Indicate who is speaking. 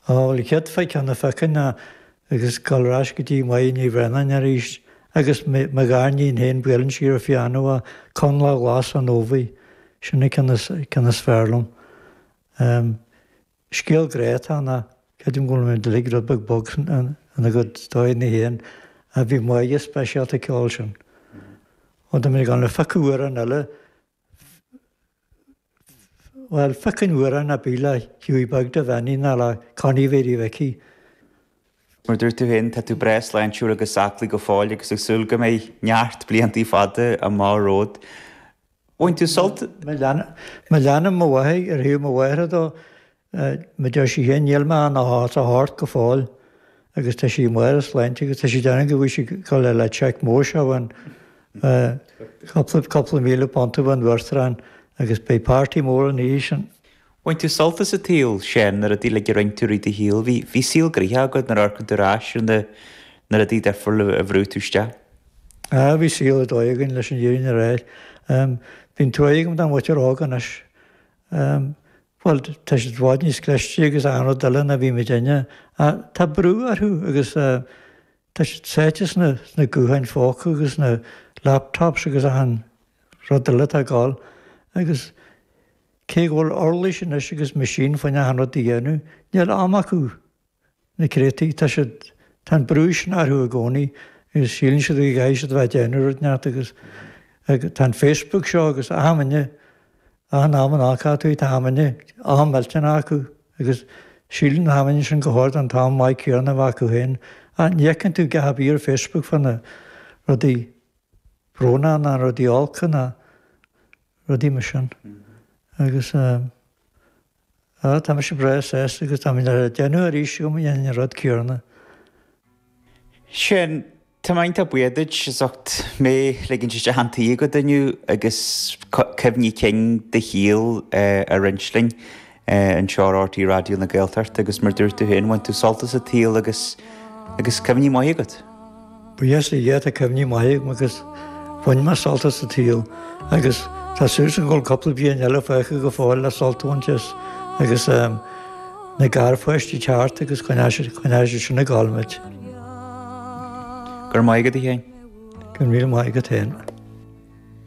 Speaker 1: Á, bhuel, an chéad cheann a phiocfainn ná, agus gabháil ar ais go dtí Máire Ní Bhraonáin arís, agus mo ghariníon féin, buaileann sí ar an phianó é, Conlach Glas an Ómhaigh, sin an ceann is, ceann is fearr liom. Scéal grá atá ann ach creidim go bhfuil muid uilig rud beag bog ina gcuid dóigheanna féin ach bhí Máire speisialta ag ceol sin. Ó tá mé ag gabháil a phiocadh amhrán eile, bhuel, phiocfainn amhrán ar bith le Hughie Beag do Bheannaí nó le Connie Mhéirí Mhicí.
Speaker 2: Mar a dúirt tú féin, tá tú breá sláintiúil agus aclaí go fóill agus ag súil go mbeidh neart bliantaí fada amach romhat. Bhain tú sult.
Speaker 1: Má leanaim mo mháthair ar thaobh mo mháthara dó, mar deir sí féin, níl mé ach os a hord go fóill agus tá sí i mbarr a sláinte agus tá sí ag déanamh go bhfuil sí ag dul le cheque mór seo uainn, cúpla £1,000 ón Uachtarán agus beidh party mór an oíche sin.
Speaker 2: Bhain tú sult as an tsaol, Seán, na rudaí uilig a rinne tú i rith do shaoil. Bhí, bhí saol gnoitheach agat nuair a amharcann tú ar ais ar na, na rudaí difriúla a bhrúigh tú isteach.
Speaker 1: Ah, bhí saol ar dóigh againn leis an fhírinne a rá. Bíonn trua agam don mhuintir óg anois. Bhuel, tá siad i bhfad níos cliste agus achan rud eile ná bhí muidinne. Ach tá brú orthu agus tá siad sáite sna gutháin phóca agus sna laptops agus achan rud eile atá ag gabháil. Agus cé go bhfuil uirlis anois agus machine fá choinne achan rud a dhéanamh, níl am acu. Na creataí, tá siad, tá an brú sin orthu i gcónaí agus síleann siad go gcaithfidh siad a bheith ag déanamh rud inteacht agus tá an Facebook seo agus achan duine, achan am a n-amharcfá tú tá achan duine am millteanach acu agus síleann achan duine sin gur chóir don t-am maith céanna a bheith acu féin ach ní fheiceann tú a dhath ar bith ar Facebook fá na rudaí brónacha ná rudaí olca ná rudaí mar sin agus. Á, tá mise breá sásta agus tá mé le déanamh arís agam dhéanfainn an rud céanna.
Speaker 2: Sin, tá mé iontach buíoch duit as ucht mé a ligint isteach chun tí agat inniu agus cuimhní cinn do shaoil a roinnt linn anseo ar RTÉ Raidió na Gaeltachta agus mar dúirt tú féin, bhain tú sult as an tsaol agus agus cuimhní maithe agat.
Speaker 1: Buíochas le Dia tá cuimhní maithe agam agus bhain mé sult as an tsaol agus tá súil agam go bhfuil cúpla bliain eile fágtha go fóill le sult a bhaint as agus na garpháistí teacht agus coinneoidh siad sin ag gabháil muid.
Speaker 2: Go raibh maith agat a Sheáin.
Speaker 1: Go raibh míle maith agat féin.